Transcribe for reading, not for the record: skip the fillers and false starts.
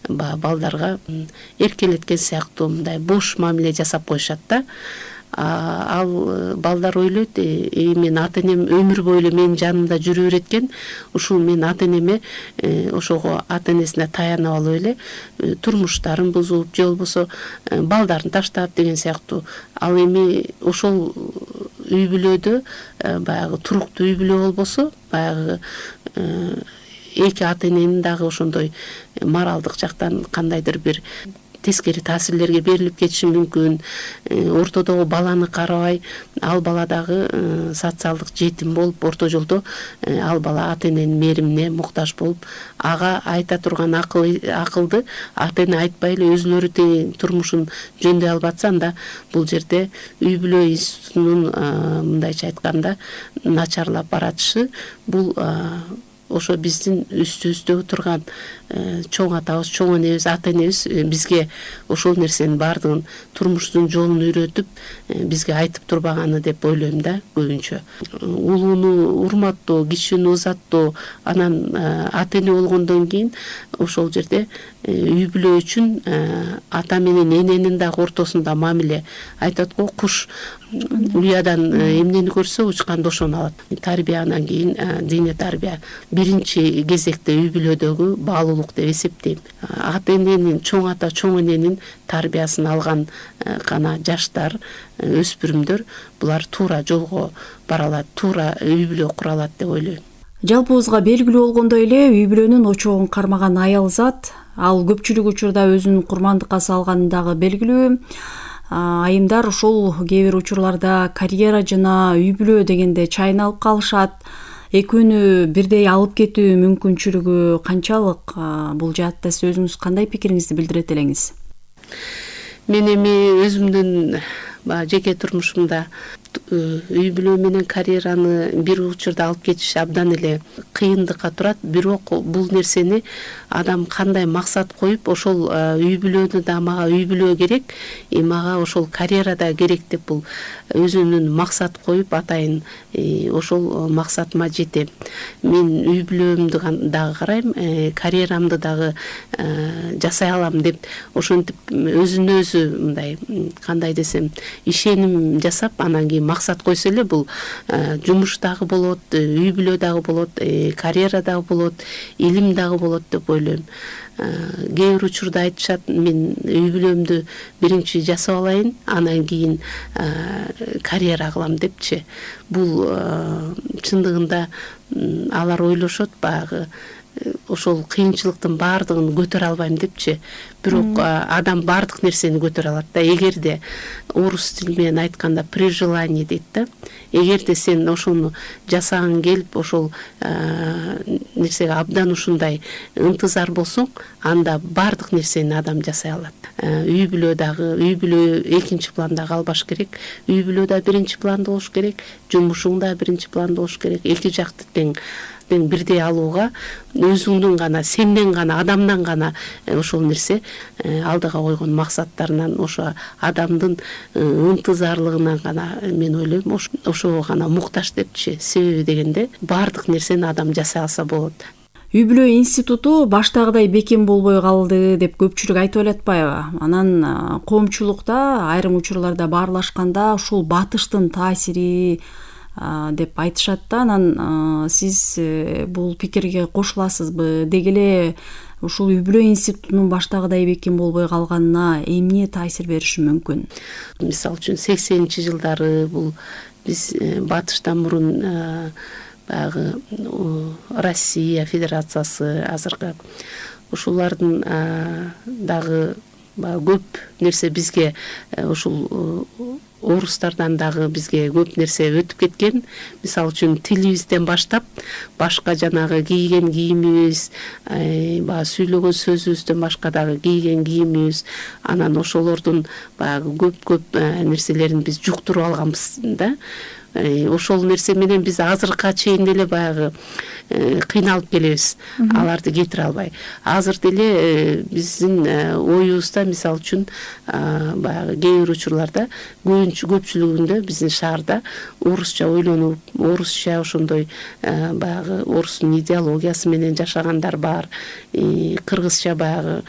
баягы балдарга эркелеткен сыяктуу мындай бош мамиле жасап коюшат да. Ал балдар ойлойт, мен ата энем өмүр бою эле менин жанымда жүрө берет экен, ушул мен ата энеме ошого ата энесине таянып алып эле турмуштарын бузуп же болбосо балдарын таштап деген сыяктуу. Ал эми ошол үй бүлөдө баягы туруктуу үй бүлө болбосо, баягы эки ата эненин дагы ошондой моралдык жактан кандайдыр бир тескери таасирлерге берилип кетиши мүмкүн. Ортодогу баланы карабай, ал бала дагы социалдык жетим болуп, орто жолдо ал бала ата эненин мээримине муктаж болуп, ага айта турган акылды ата эне айтпай эле өзүлөрү турмушун жөндөй алып атса, анда бул жерде үй бүлө институтунун мындайча айтканда начарлап баратышы, бул ошо биздин үстүбүздө турган чоң атабыз, чоң энебиз, ата энебиз бизге ошол нерсенин баардыгын турмуштун жолун үйрөтүп, бизге айтып турбаганы деп ойлойм да көбүнчө. Улууну урматтоо, кичүүнү узаттоо, анан ата эне болгондон кийин ошол жерде үй бүлө үчүн ата менен эненин дагы ортосунда мамиле. Айтат го, куш уядан эмнени көрсө учканда ошону алат. Тарбия, анан кийин диний тарбия биринчи кезекте үй бүлөдөгү баалуулук деп эсептейм. Ата эненин, чоң ата, чоң эненин тарбиясын алган гана жаштар, өспүрүмдөр, булар туура жолго бара алат, туура үй бүлө кура алат деп ойлойм. Жалпыбызга белгилүү болгондой эле, үй бүлөнүн очогун кармаган аял зат, ал көпчүлүк учурда өзүн курмандыкка салганы дагы белгилүү. Айымдар ушул кээ бир учурларда карьера жана үй бүлө дегенде чайналып калышат. Экөөнү бирдей алып кетүү мүмкүнчүлүгү канчалык? Бул жаатта сиз өзүңүз кандай пикириңизди билдирет элеңиз? Мен эми өзүмдүн жеке турмушумда үй бүлө менен карьераны бир учурда алып кетиш абдан эле кыйындыкка турат. Бирок бул нерсени адам кандай максат коюп, ошол үй бүлөнү да мага үй бүлө керек, мага ошол карьера да керек деп бул өзүнүн максат коюп атайын ошол максатыма жетем. Мен үй бүлөмдү дагы карайм, карьерамды дагы жасай алам деп ошентип өзүнө өзү мындай кандай десем ишеним жасап, анан кийин максат койсо эле бул жумуш дагы болот, үй бүлө дагы болот, карьера дагы болот, илим дагы болот деп ойлойм. Кээ бир учурда айтышат, мен үй бүлөмдү биринчи жасап алайын, анан кийин карьера кылам депчи. Бул чындыгында алар ойлошот, баягы ошол кыйынчылыктын баардыгын көтөрө албайм депчи. Бирок адам баардык нерсени көтөрө алат да. Эгерде орус тили менен айтканда при желании дейт да. Эгерде сен ошону жасагың келип, ошол нерсеге абдан ушундай ынтызар болсоң, анда баардык нерсени адам жасай алат. Үй бүлө экинчи планда калбаш керек. Үй бүлө да биринчи планда болуш керек, жумушуң да биринчи планда болуш керек. Эки жакты тең бирдей алууга өзүңдүн гана, сенден гана, адамдан гана ошол нерсе алдыга койгон максаттарынан, ошо адамдын ынтызарлыгынан гана мен ойлойм ошого гана муктаж депчи. Себеби дегенде баардык нерсени адам жасай алса болот. Үй бүлө институту баштагыдай бекем болбой калды деп көпчүлүк айтып элатпайбы? Анан коомчулукта айрым учурларда баарлашканда ушул батыштын таасири деп айтышат да. Анан сиз бул пикирге кошуласызбы? Деги эле ушул үй бүлө институтунун баштагыдай бекем болбой калганына эмне таасир бериши мүмкүн? Мисалы үчүн 80-чи жылдары бул биз батыштан мурун баягы Россия Федерациясы азыркы ушулардын дагы көп нерсе бизге ушул орустардан дагы бизге көп нерсе өтүп кеткен. Мисалы үчүн тилибизден баштап башка жанагы кийген кийимибиз, баягы сүйлөгөн сөзүбүздөн башка дагы кийген кийимибиз, анан ошолордун баягы көп нерселерин биз жуктуруп алганбыз да. Ошол нерсе менен биз азыркыга чейин деле баягы кыйналып келебиз, аларды кетире албай. Азыр деле биздин оюбузда мисалы үчүн баягы кээ бир учурларда көпчүлүгүндө биздин шаарда орусча ойлонуп, орусча ошондой баягы орустун идеологиясы менен жашагандар бар. Кыргызча баягы